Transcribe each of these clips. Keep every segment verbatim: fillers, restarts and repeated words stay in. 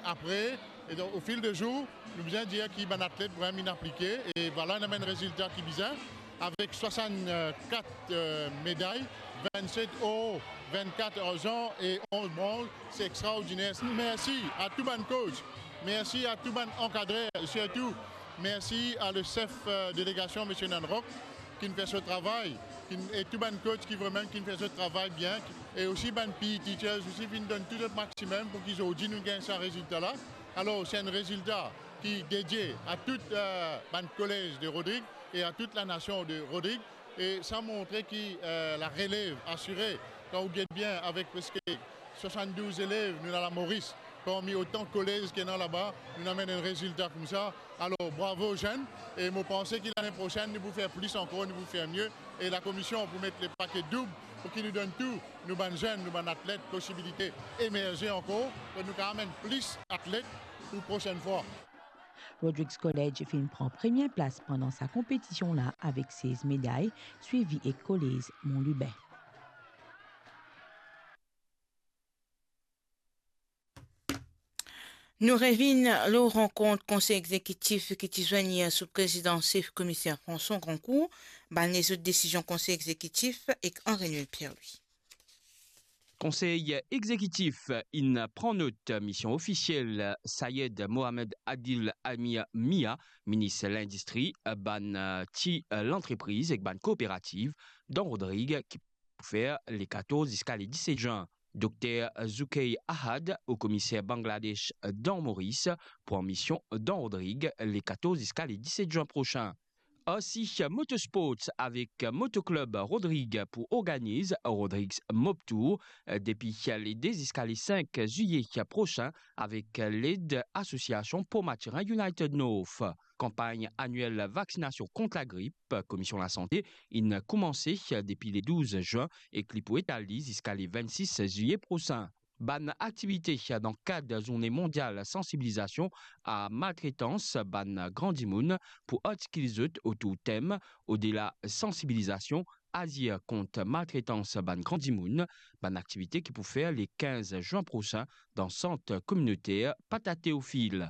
apre, e donk, o fil de zour, nou bizin dir ki bann atlet vremem inn aplike, e vwala, nou amenn rezilta ki bizin, avek swasannkat, eh, meday, vennset or, vennkat arzan e onz bronz. Se extraordiner. Mersi a tou bann coach, mersi a tou bann ankadrer, sirtou mersi a le sef, eh, delegasion, Misie Nanrock, ki'nn fer so travay, ki'nn, e tou bann coach ki vremem ki'nn fer so travay bien, ki, e osi bann P E teachers osi finn donn tou zot maximum pou ki zordi nou gagn sa rezilta la. Alor, se enn rezilta ki dedie a tou, eh, bann kolez de Rodrig e a tou lanasion de Rodrig. E sa montre ki, eh, larelev asire, kan ou get bien, avek preske swasanndouz elev nou ena la Moris, parmi otan kolez ki ena laba, nou amenn enn rezilta koumsa. Alor, bravo zenn, e mo panse ki lane prosenn, nou pou fer plis ankor, nou pou fer mie, e lakomision pou met lepake doub, pou ki nou donn tou nou bann zenn, nou bann atlet posibilite emerze ankor, pou nou kapav amenn plis atlet pou prosenn fwa. Rodrigues College finn pran premie plas pandan sa konpetision la avek sez meday, swivi ek Kolez Mont Lubin. Nou revinn lor rankont konsey egzekitif ki ti zwenn yer sou prezidans sef komiser François Grandcourt. Bann lezot desizion konsey egzekitif ek Henri Noël Pierre-Louis. Konsey egzekitif inn pran not mision ofisiel Sayed Mohamed Adil Amir Mia, minis lindistri, bann ti lantrepriz ek bann kooperativ dan Rodrig ki pou fer le katorz ziska le diset zin. Dokter Zoukey Ahad, o komiser Bangladesh dan Moris, pran mision dan Rodrig le katorz ziska le diset zin prosin. Osi, Motorsports avek Motoklub Rodrig pou organiz Rodrigues Mob Tour depi le de ziska le sink ziye prosin avek led asosiasion Port Mathurin United North. Kanpagn aniel vaksinasion kont lagrip Komisyon Lasante inn koumanse depi le douz zin ek li pou etal li ziska le vennsis ziye prosin. Bann aktivite dan kad Zourne Mondyal Sansibilizasion a Maltretans bann gran dimoun pou artikil zot otour tem Odela sansibilizasion, azir kont maltretans bann gran dimoun, bann aktivite ki pou fer le kinz zin prosin dan sant kominoter Pata Teofil.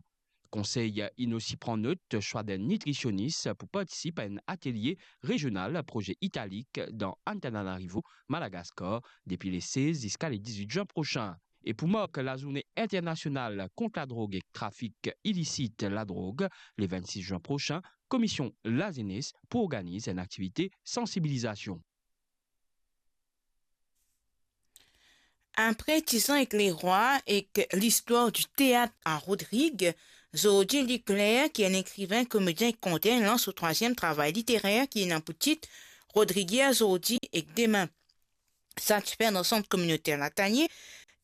Konsey inn osi pran not swa d'enn nitrisionis pou partisip a enn atelie rezional proze Italik dan Antananarivo, Madagaskar, depi le sez ziska le dizwit zin prosin. E pou mark Lazourne Internasional kont Ladrog ek Trafik Ilisit Ladrog, le vennsis zin prosin, Komisyon Lazenes pou organiz enn aktivite sansibilizasion. Apre Tizan ek Lerwa ek listwar di teat a Rodrig, zordi Luc Leclerc, ki enn ekriven, komedien ek konter, lans so trwaziem travay literer ki ena pou tit Rodrig yer, zordi ek demin. Sa ti fer dan sant kominoter Latanie,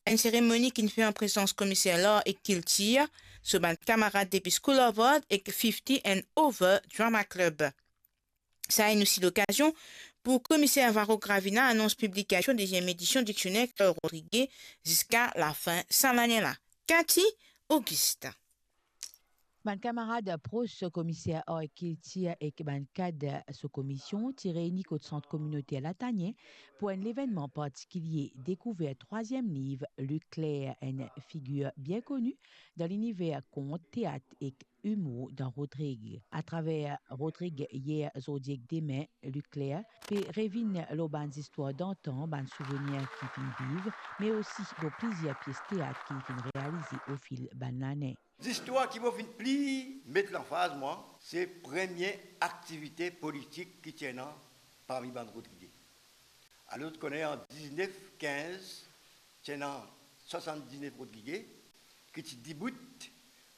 enn seremoni ki'nn fer an prezans Komiser Lar ek Kiltir, so bann kamarad depi School of Art ek Fifty and Over Drama Club. Sa inn osi lokazion pou Komiser Varro Gravina anons piblikasion deziem edision diksioner kreol rodrige ziska lafin sa lane la. Cathy Augustin. Bann kamarad pros Komiser Ar ek Kiltir ek bann kad so komisyon ti reyni kot sant kominoter Latanie pou enn levennman partikilie, dekouver trwaziem liv Luc Leclerc, enn figir bien koni dan liniver kont, teat ek imour dan Rodrig. Atraver Rodrig yer, zordi ek demin, Luc Leclerc pe revinn lor bann zistwar dantan, bann souvenir ki finn viv, me osi lor plizier pies teat ki finn realize ofil bann lane. Zistwar ki mo finn pli met lanfaz mwa, se premie aktivite politik ki ti ena parmi bann Rodrige. Alor, zot kone, an diznef kinz, ti ena swasanndiznef Rodrige ki ti dibout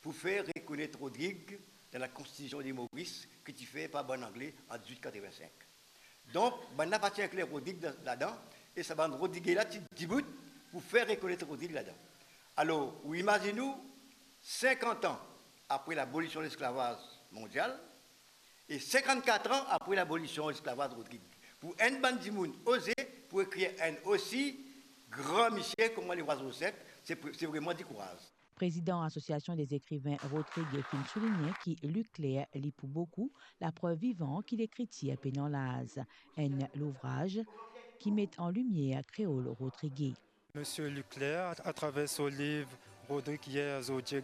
pou fer rekonet Rodrig dan Lakonstitision de Moris ki ti fer par bann Angle an diz-wit katreven-sink. Donk, bannla pa ti inklir Rodrig dan, ladan, e sa bann Rodrige la ti dibout pou fer rekonet Rodrig ladan. Alor, ou imazinn ou, sinkant an apre labolision lesklavaz mondial, e sinkannkat an apre labolision lesklavaz Rodrig, pou enn bann dimoun oze pou ekrir enn osi gran misie kouma Lerwa Zo Sek, se pre-, se vreman dikouraz. Prezidan Asosiasion dezekriven Rodrig finn souligne ki Luc Leclerc li pou boukou laprev vivan ki lekritir pena laz, enn louvraz ki met an limier kreol rodrige. Misie Luc Leclerc, atraver so liv Rodrig yer, zordi,